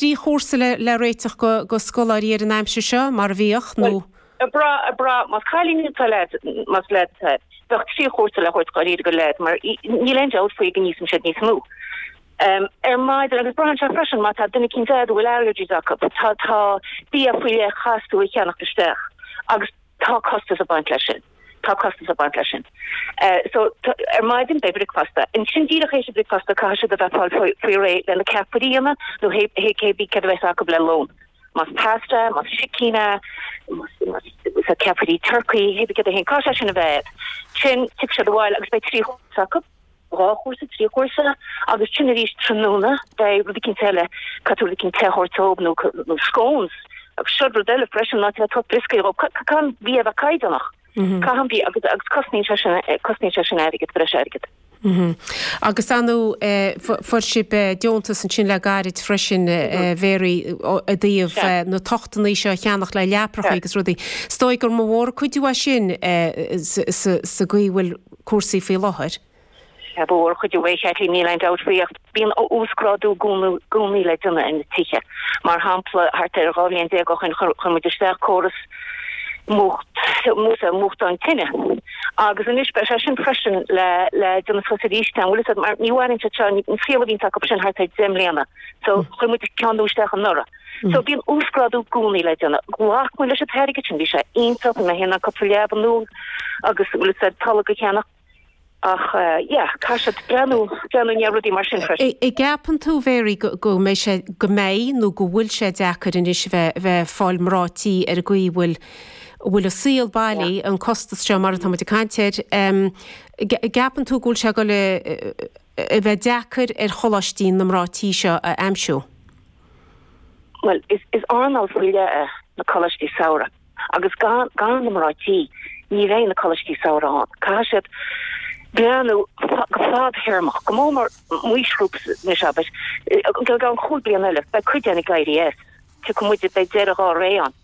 3 chúrsa le réiteach go scoláirí ar an aimsir seo, mar a bhíodh, nó? Bhuel, ag brath, ag brath, más cailín atá leaid, más leaid atá, bheadh 3 chúrsa le thabhairt dháiríre go leaid, mar níl aon dabht faoi go n-íosann siad níos mó. Ar maidin, agus braitheann sé freisin má tá duine eicínt a'd a bhfuil allergies acu, tá, tá bia faoi leith chaithfeas tú a cheannacht isteach agus tá costas ag baint leis sin. Tá costas ag baint leis sin. So, ar maidin beidh bricfeasta. Ansin díreach théis an bricfeasta caithfidh siad a bheith fáil faoi réidh le na ceapairí a dhéanamh nó hé cé bith céard a bheas acu le lón. Más pasta, más sicín é, más ceapairí turcaí, hé bith céard é féin, caithfidh sé sin a bheith. Sin, tiocfaidh siad abhaile agus beidh 3 chúrsa acu. 2 chúrsa, 3 chúrsa agus ansin arís tráthnóna beidh rud eicínt eile, caithfidh tú rud eicínt te a thabhairt dóibh nó nó scones agus seo rud eile freisin ná tabhairt brioscaí dhóibh, caithfidh an bia a bheith caighdeánach, caithfidh an bia agus agus cosnaíonn sé sin cosnaíonn sé sin airgead, breis airgid. Agus ar ndóigh fuair sibh deontas ansin le gairid freisin a Mhary i dtaobh na tochtannaí seo a cheannach le leaprachaí agus rudaí. Is dóigh gur mó mór an cuidiú é sin sa gcaoi a bhfuil cúrsaí faoi láthair. Sea, ba mhór an chuidiú é, Chaitlín, níl aon dabht faoi, ach bíonn uasghrádú i gcónaí le déanamh ar na tithe. Mar shampla, thart ar 12 bhliain ó shin chuir muid isteach córas múcht, múchtáin tine agus anois beidh sé sin freisin le le déanamh suas arís, an bhfuil fhios agat, mar ní mhaireann siad seo, an saol a bhíonns acu sin thart ar 10 mbliana, so chuir muid ceann nua isteach anuraidh. So bíonn uasghrádú i gcónaí le déanamh. Ghlac muid leis an t-airgead sin, bhí sé iontach, bhí mé féin in ann cúpla leaba nua agus bhfuil fhios agat tolg a cheannach. Ach yeah, caithfidh siad breathnú, breathnú i ndiaidh rudaí mar sin freisin. An gceapann tú, Mhary, go, go mbeidh sé, go mbeidh nó go bhfuil sé deacair anois a bheith, a bheith ag fáil mná tí ar an gcaoi a bhfuil, a bhfuil an saol bailí, an costas seo mar atá muid ag caint air, an gceapann tú go bhfuil sé ag dul a, a bheith deacair ar choláistí na mná tí seo a aimsiú? Bhuel, is, is earnáil faoi leith é na coláistí samhraidh agus gan, gan na mná tí, ní bheidh na coláistí samhraidh ann. Caithfidh siad breathnú go fadthéarmach, go mór mór m'aoisghrúpa anois, abair, i gceann chúig bliana eile, beidh cuid againn ag éirí as, tiocfaidh muid, beidh deireadh ár ré ann.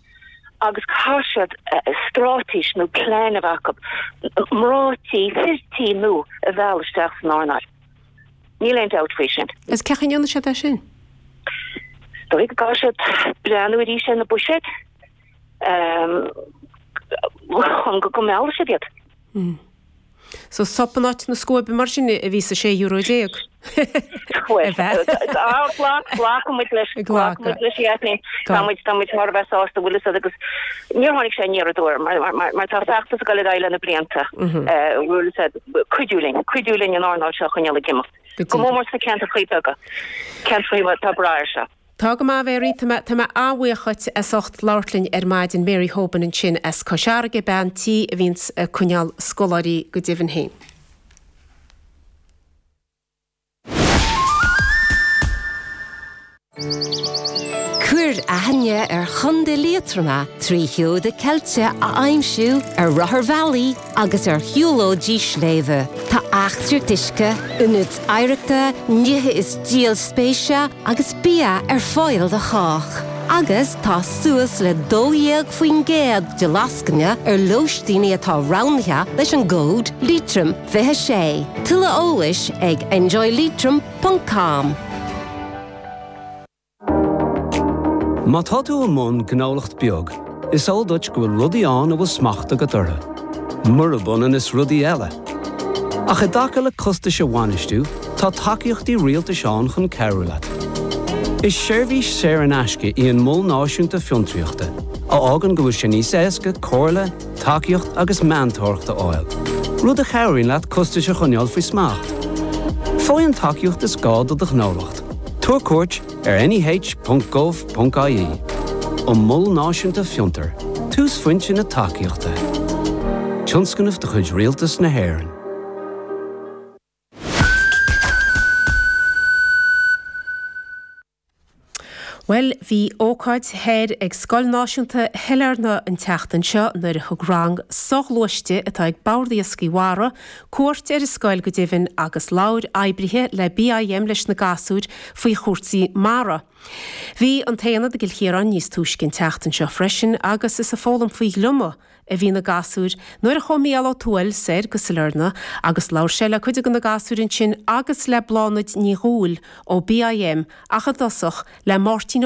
Agus caithfidh siad straitéis nó plean a bheith acu, mná tí, fir tí nua a mhealladh isteach san earnáil. Níl aon dabht faoi sin. Is cén chaoi a ndéanfaidh siad é sin? Is dóigh go gcaithfidh siad breathnú arís ar na buiséid chun go meallfaidh siad iad. So sop in áit na scuaibe mar sin a bhí sa €16? Bhuel, glacfaidh muid leis, glacfaidh muid leis, a Chaitlín. Tá muid, tá muid thar a bheith sásta, bhfuil fhios agat, agus níor tháinig sé aniar aduaidh mar, mar, mar tá feachtas ag dul ar aghaidh le na blianta, bhfuil fhios agat, cuidiú linn, cuidiú linn an earnáil seo a choinneáil ag imeacht. Go mór mór sna ceantrachaí beaga, ceantrachaí atá ag brath air seo. Tá go maith, Mary. Tá mé, tá mé an-bhuíoch dhuit as ucht labhairt linn ar maidin. Mary Hoban ansin as Cois Fharraige, bean tí a bhíonns ag coinneáil scoláirí go deimhin féin. Cuir aithne ar Chontae Liatroma trí sheoda ceilte a aimsiú ar rotharbhealaí agus ar shiúlóidí sléibhe. Tá eachtraíocht uisce, ionaid oidhreachta, nithe is díol spéise agus bia ar fáil do chách. Agus tá suas le 12% de lascaine ar lóistíní atá roghnaithe leis an gcód Leitrim 26. Tuilleadh eolais ag enjoyleitrim ponc com. Má tá tú i mbun gnólacht beag, is eol duit go bhfuil rudaí ann a bhfuil smacht agat orthu, murab ionann is rudaí eile. Ach i dtaca le costais a bhainistiú, tá tacaíochtaí rialtais ann chun cabhrú leat. Is seirbhís saor in aisce í an Mol Náisiúnta Fiontraíochta, a fhágann go bhfuil sé níos éasca comhairle, tacaíocht agus meantóireacht a fháil, rud a chabhraíonn leat costais a choinneáil faoi smacht. Faigh an tacaíocht is gá do do ghnólacht. Tabhair cuairt ar neh.gov.ie. An Mol Náisiúnta Fiontar, túsphointe na tacaíochta. Tionscnamh de chuid Rialtas na hÉireann. Bhuel, bhí ócáid thoir ag Scoil Náisiúnta Shailearna an tseachtain seo nuair a thug rang soghluaiste atá ag Bord Iascaigh Mhara cuairt ar an scoil go deimhin agus labhair oibrithe le BIM leis na gasúir faoi chúrsaí mara. Bhí an t-aonad i gCill Chiaráin níos túisce an tseachtain seo freisin agus is ag foghlaim faoi ghliomaigh a bhí na gasúir nuair a chuaigh Mícheál Ó Tuathail soir go Sailearna agus labhair sé le cuid de na gasúir ansin agus le Bláthnaid Ní Dhúill ó BIM ach i dtosach le Máirtín Ó.